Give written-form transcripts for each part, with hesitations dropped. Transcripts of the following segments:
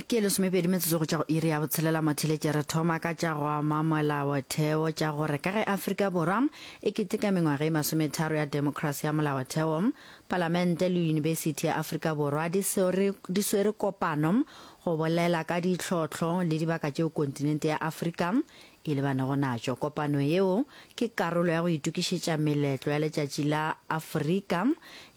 Ke lesomepedi metsotso go tšwa go iri ya botshelela motheletše re thoma ka tša go ama molaotheo tša gore ka ge Afrika Borwa e keteka mengwaga e masometharo ya demokrasi ya molaotheo, Palamente le Yunibesithi ya Afrika Borwa di swere, di swere kopano go bolela ka ditlhohlo le dibaka tšeo kontinente ya Afrika e lebanego natšo. Kopano yeo ke karolo ya go itokišetša meletlo ya Letšatši la Afrika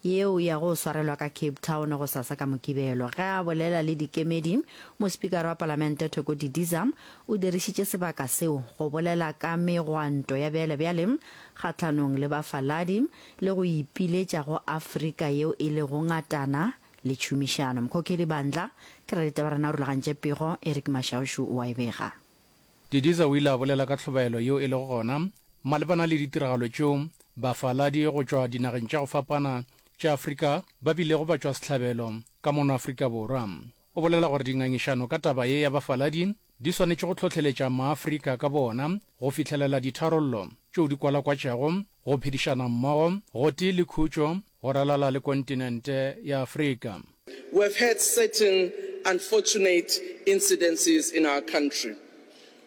yeo e yago go swarelwa ka Cape Town gosasa ka Mokibelo. Ge a bolela le dikemedi, Mospikara wa Palamente Thoko Didiza o dirišitše sebaka seo go bolela ka megwanto ya bjalebjale kgahlanong le bafaladi le go ipiletša go Afrika yeo e lego ngatana le tšhomišano. Mkhokheli Bandla ke raditaba rena o rulagantše pego, Eric Mashaushu o a e bega. Didiza o ile a bolela ka tlhobaelo yeo e lego gona malebana le ditiragalo tšeo bafaladi go tšwa dinageng tša go fapana tša Afrika ba bilego ba tšwa sehlabelo ka mono Afrika Borwa. O bolela gore dingangišano ka taba ye ya bafaladi di swanetše go hlohleletša maAfrika ka boona go fihlelela ditharollo tšeo di kwalakwatšago go phedišana mmogo gotee le khutšo go ralala le kontinente ya Afrika. We have had certain unfortunate incidences in our country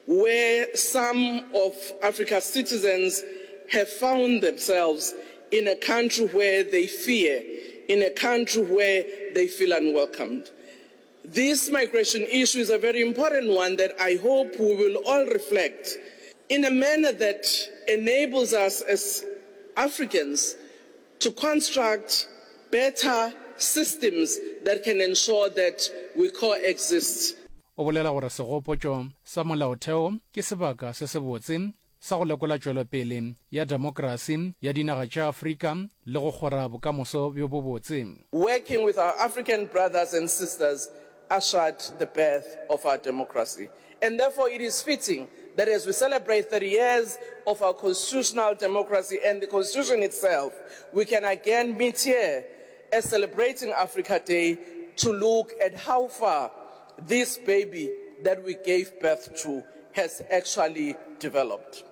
where some of Africa's citizens have found themselves in a country where they fear, in a country where they feel unwelcomed. This migration issue is a very important one that I hope we will all reflect in a manner that enables us as Africans to construct better systems that can ensure that we coexist. O bolela gore segopotšo sa molaotheo ke sebaka se sebotse sa go lekola tšwelopele ya demokrasi ya dinaga tša Afrika le go kgora bokamoso bjo bobotse. Working with our African brothers and sisters ushered the birth of our democracy and therefore it is fitting that as we celebrate 30 years of our constitutional democracy and the constitution itself, we can again meet here as celebrating Africa Day to look at how far this baby that we gave birth to has actually developed.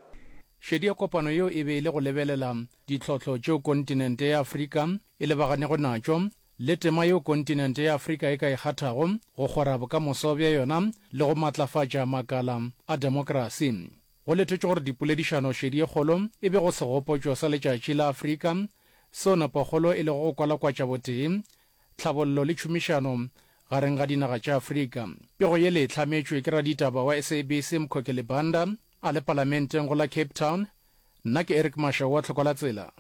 Šedi ya kopano yeo e be e le go lebelela ditlhohlo tšeo kontinente ya Afrika e lebaganego natšo le tema yeo kontinente ya Afrika e ka e kgathago go kgora bokamoso bja yona le go matlafatša makala a demokrasi. Go letetšwe gore dipoledišano šedi ye kgolo e be go segopotšo sa Letšatši la Afrika, seo nepokgolo e lego go kwalakwatša botee, tlhabollo le tšhomišano gareng ga dinaga tša Afrika. Pego ye le e hlametšwe ke raditaba wa SABC Mkhokheli Banda a le Palamenteng go la Cape Town. Nna ke Eric Mashau wa Tlhokolatsela.